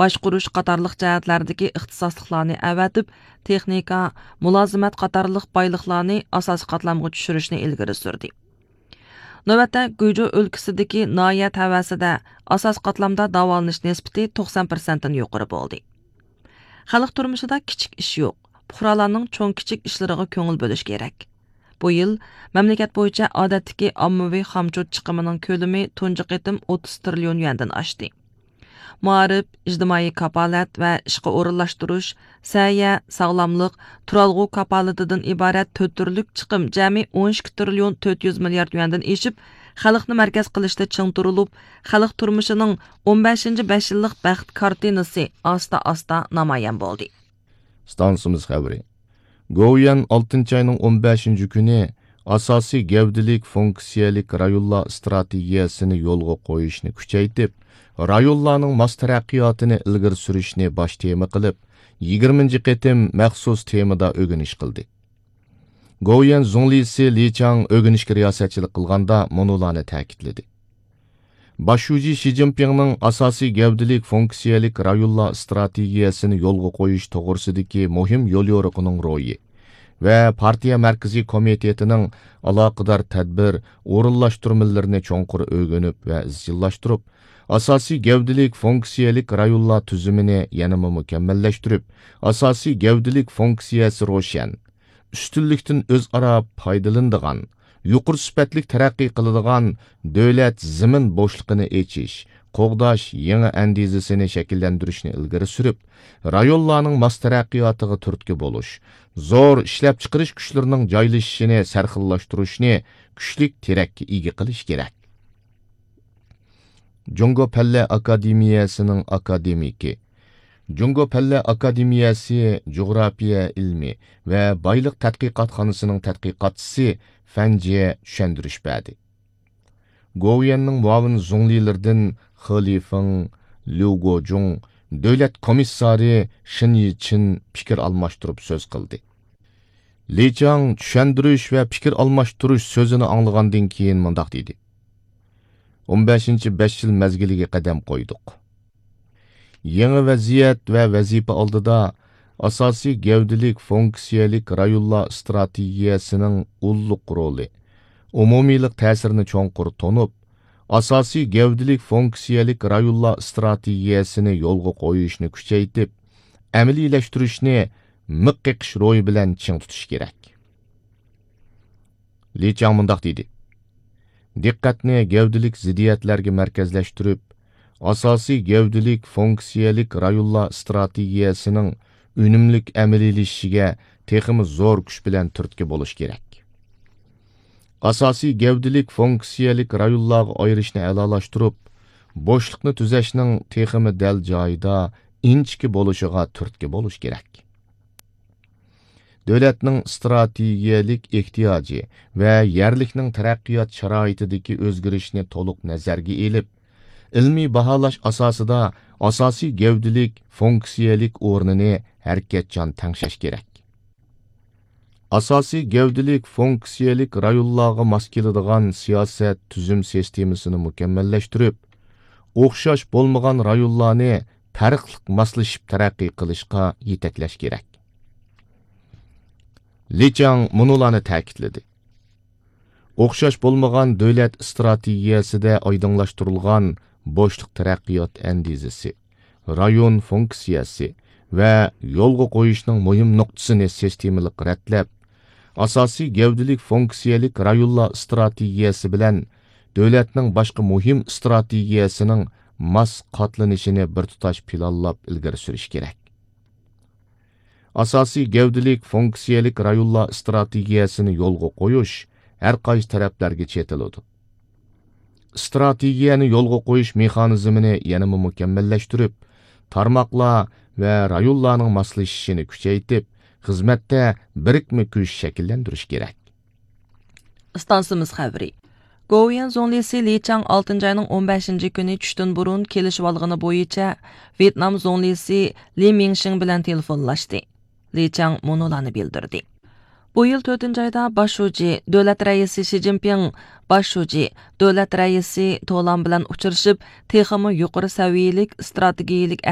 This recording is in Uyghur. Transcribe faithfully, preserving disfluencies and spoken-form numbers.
باشقۇرۇش قاتارلىق جەھەتلەردىكى ئىختىساسلىقلارنى ئەۋەتىپ، تېخنىكا، مۇلازىمەت قاتارلىق بايلىقلارنى ئاساسىي قاتلامغا چۈشۈرۈشنى ئىلگىرى سۈردى. نۆۋەتتە گۇيجۇ ئۆلكىسىدىكى ناھىيە تەۋەسىدە ئاساسىي قاتلامدا داۋالىنىش نىسبىتى توقسان پىرسەنتتىن يۇقىرى بولدى. خەلق تۇرمۇشىدا كىچىك ئىش يوق. پۇقرالارنىڭ چوڭ كىچىك ئىشلىرىغا كۆڭۈل بۆلۈش كېرەك. بۇ يىل مەملىكەت بويىچە ئادەتتىكى ئاممىۋى خامچوت چىقىمىنىڭ كۆلىمى تۇنجى قېتىم ئوتتۇز تىرىليون يۈەندىن ئاشتى. مائارىپ، ئىجتىمائىي كاپالەت ۋە ئىشقا ئورۇنلاشتۇرۇش، سەھىيە، ساغلاملىق، تۇرالغۇ كاپالىتىدىن ئىبارەت تۆت تۈرلۈك چىقىم جەمئىي ئون ئىككى تىرىليون تۆت يۈز مىليارد يۈەندىن ئېشىپ، خەلقنى مەركەز قىلىشتا چىڭ تۇرۇلۇپ، خەلق تۇرمۇشىنىڭ ئون بەشىنچى بەش يىللىق بەخت كارتىنىسى ئاستا-ئاستا نامايان بولدى. ئىستانسىمىز خەۋىرى. گوۋۇيۈەن ئالتىنچى ئاينىڭ ئون بەشىنچى كۈنى ئاساسىي گەۋدىلىك فۇنكسىيەلىك رايونلار ئىستراتېگىيەسىنى يولغا قويۇشنى كۈچەيتىپ، رايونلارنىڭ ماس تەرەققىياتىنى ئىلگىرى سۈرۈشنى باش تېما قىلىپ، يىگىرمىنچى قېتىم مەخسۇس تېمىدا ئۆگىنىش قىلدى. گوۋۇيۈەن زۇڭلىسى لى چاڭ ئۆگىنىشكە رىياسەتچىلىك قىلغاندا مۇنۇلارنى تەكىتلىدى. باش شۇجى شى جىنپىڭنىڭ ئاساسىي گەۋدىلىك فۇنكسىيەلىك رايونلار ئىستراتېگىيەسىنى يولغا قويۇش توغرىسىدىكى مۇھىم يوليورۇقىنىڭ روھى ۋە پارتىيە مەركىزىي كومىتېتىنىڭ ئالاقىدار تەدبىر، ئورۇنلاشتۇرمىلىرىنى چوڭقۇر ئۆگىنىپ ۋە ئىزچىللاشتۇرۇپ، ئاساسىي گەۋدىلىك فۇنكسىيەلىك رايونلار تۈزۈمىنى يەنىمۇ مۇكەممەللەشتۈرۈپ، ئاساسىي گەۋدىلىك فۇنكسىيەسى روشەن، ئۈستۈنلۈكتىن ئۆزئارا پايدىلىنىدىغان، يۇقىرى سۈپەتلىك تەرەققىي قىلىدىغان دۆلەت زېمىن بوشلۇقىنى ئېچىش، قوغداش يېڭى ئەندىزىسىنى شەكىللەندۈرۈشنى ئىلگىرى سۈرۈپ، رايونلارنىڭ ماس تەرەققىياتىغا تۈرتكە بولۇش، زور ئىشلەپچىقىرىش كۈچلىرىنىڭ جايلىشىشىنى سەرخىللاشتۇرۇشنى كۈچلۈك تىرەككە ئىگە قىلىش كېرەك. جۇڭگو پەنلەر ئاكادېمىيەسىنىڭ ئاكادېمىكى، جۇڭگو پەنلەر ئاكادېمىيەسى جۇغراپىيە ئىلمى ۋە بايلىق تەتقىقاتخانىسىنىڭ تەتقىقاتچىسى فەن جيې چۈشەندۈرۈش بەردى. گوۋۇيۈەننىڭ مۇئاۋىن زۇڭلىلىرىدىن خې لىفېڭ، ليۇ گوجۇڭ، دۆلەت كومىسسارى شېن يىچىن پىكىر ئالماشتۇرۇپ سۆز قىلدى. لى چاڭ چۈشەندۈرۈش ۋە پىكىر ئالماشتۇرۇش سۆزىنى ئاڭلىغاندىن كېيىن مۇنداق دېدى: «ئون بەشىنچى بەش يىل مەزگىلىگە قەدەم قويدۇق. يېڭى ۋەزىيەت ۋە ۋەزىپە ئالدىدا ئاساسىي گەۋدىلىك فۇنكسىيەلىك رايونلار ئىستراتېگىيەسىنىڭ ئۇللۇق رولى، ئومۇمىيلىق تەسىرىنى چوڭقۇر تونۇپ، ئاساسىي گەۋدىلىك فۇنكسىيەلىك رايونلار ئىستراتېگىيەسىنى يولغا قويۇشنى كۈچەيتىپ، ئەمەلىيلەشتۈرۈشنى مىخ قېقىش روھى بىلەن چىڭ تۇتۇش كېرەك.» لى چاڭ مۇنداق دېدى: «دىققەتنى گەۋدىلىك زىددىيەتلەرگە مەركەزلەشتۈرۈپ، ئاساسىي گەۋدىلىك فۇنكسىيەلىك رايونلار ئىستراتېگىيەسىنىڭ ئۈنۈملۈك ئەمەلىيلىشىشىگە تېخىمۇ زور كۈچ بىلەن تۈرتكە بولۇش كېرەك. ئاساسىي گەۋدىلىك فۇنكسىيەلىك رايونلارغا ئايرىشنى ئەلالاشتۇرۇپ، بوشلۇقنى تۈزەشنىڭ تېخىمۇ دەل جايىدا، ئىنچىكە بولۇشىغا تۈرتكە بولۇش كېرەك. دۆلەتنىڭ ئىستراتېگىيەلىك ئېھتىياجى ۋە يەرلىكنىڭ تەرەققىيات شارائىتىدىكى ئۆزگىرىشنى تولۇق نەزەرگە ئېلىپ، ئىلمىي باھالاش ئاساسىدا ئاساسىي گەۋدىلىك فۇنكسىيەلىك ئورنىنى ھەرىكەتچان تەڭشەش كېرەك. ئاساسىي گەۋدىلىك فۇنكسىيەلىك رايونلارغا ماس كېلىدىغان سىياسەت، تۈزۈم سىستېمىسىنى مۇكەممەللەشتۈرۈپ، ئوخشاش بولمىغان رايونلارنى پەرقلىق ماسلىشىپ تەرەققىي قىلىشقا يېتەكلەش كېرەك.» لى چاڭ مۇنۇلارنى تەكىتلىدى: «ئوخشاش بولمىغان دۆلەت ئىستراتېگىيەسىدە ئايدىڭلاشتۇرۇلغان بوشلۇق تەرەققىيات ئەندىزىسى، رايون فۇنكسىيەسى ۋە يولغا قويۇشنىڭ مۇھىم نۇقتىسىنى سىستېمىلىق رەتلەپ، ئاساسىي گەۋدىلىك فۇنكسىيەلىك رايونلار ئىستراتېگىيەسى بىلەن دۆلەتنىڭ باشقا مۇھىم ئىستراتېگىيەسىنىڭ ماس قاتلىنىشىنى بىر تۇتاش پىلانلاپ ئىلگىرى سۈرۈش كېرەك.» ئاساسىي گەۋدىلىك فۇنكسىيەلىك رايونلار ئىستراتېگىيەسىنى يولغا قويۇش ھەر قايسى تەرەپلەرگە چېتىلىدۇ. ئىستراتېگىيەنى يولغا قويۇش مېخانىزمىنى يەنىمۇ مۇكەممەللەشتۈرۈپ، تارماقلار ۋە رايونلارنىڭ ماسلىشىشىنى كۈچەيتىپ، خىزمەتتە بىرىكمە كۈچ شەكىللەندۈرۈش كېرەك. ئىستانسىمىز خەۋىرى. گوۋۇيۈەن زۇڭلىسى لى چاڭ ئالتىنچى ئاينىڭ ئون بەشىنچى كۈنى چۈشتىن بۇرۇن كېلىشىۋالغىنى بويىچە ۋيېتنام زۇڭلىسى لى مىڭشىڭ بىلەن تېلېفونلاشتى. لى چاڭ مۇنۇلارنى بىلدۈردى: «بۇ يىل تۆتىنچى ئايدا باش شۇجى، دۆلەت رەئىسى شى جىنپىڭ، باش شۇجى، دۆلەت رەئىسى تولان بىلەن ئۇچرىشىپ، تېخىمۇ يۇقىرى سەۋىيەلىك ئىستراتېگىيەلىك